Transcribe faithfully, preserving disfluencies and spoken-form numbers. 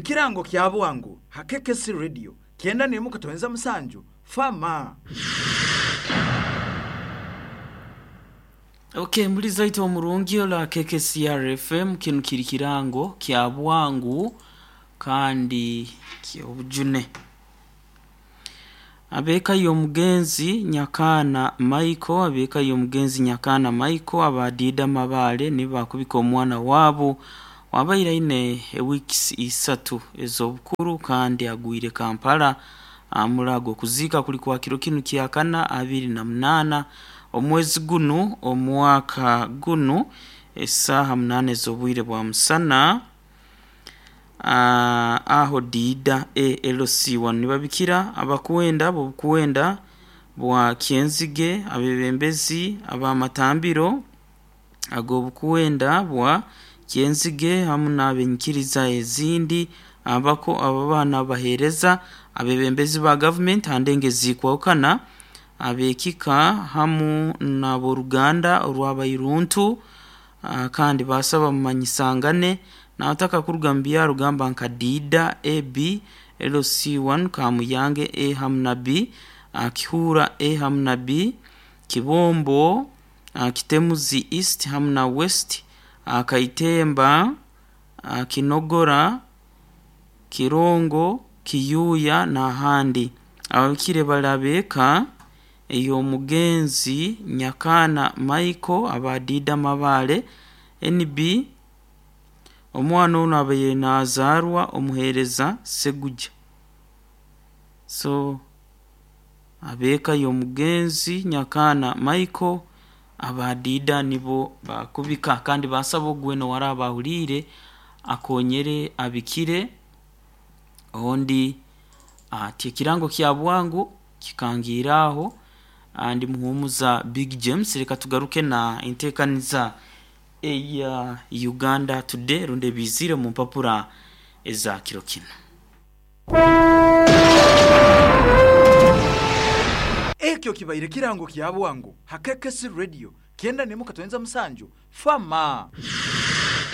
Ekirango kya bwangu ha K K C Radio kyenda n'emu katonza musanju fama. Okay, mbuliza ito omurungi ola K K C R F M kinu kiri kirango kya bwangu kandi kyobujune. Abeka y'omugenzi Nyakana Michael, abeka y'omugenzi Nyakana Michael abadida mabale nibakubika omwana wabo wabaire aine weeks isatu ez'obukuru kandi agwire Kampala amulago kuzika kuli kwa kiro kinu kyakana abiri na munana omwezi gunu omwaka gunu esaha munane z'obwire bwa musana. Uh, aho dida A L C one nibabikira abakwenda bobukwenda bwa Kyenzige abebembezi abamatambiro agobukwenda bwa Kyenzige hamu n'abenyikiriza ezindi abako ababana bahereza abebembezi ba government handenge zikwokana abekika hamu n'aboruganda orwabairuntu uh, kandi basaba mumanyisangane nataka kuruga mbyaro gamba nka Dida A B L C one Kamuyange A hamu na B Kihura A hamu na B Kibombo Kitemuzi East hamu na West Kaitemba Kinogora Kirongo Kiyuya na handi abakire balabeka eyo mugenzi Nyakana Michael abadida mabale N B omwana ono abaire nazaarwa omuhereza Seguja. So abeka y'omugenzi Nyakana Michael abadida nibo bakubika kandi basaba ogweno warabahulire akonyere abikire ondi ati ekirango kya bwangu kikangiraho andi muhumuza Big James. Reka tugaruke na entekaniza eya Uganda Today runde bizire mu mpapura eza kiro kino. Ekyo kibaire kirango kya bwangu ha K K C Radio kyenda n'emu katonza musanju fama.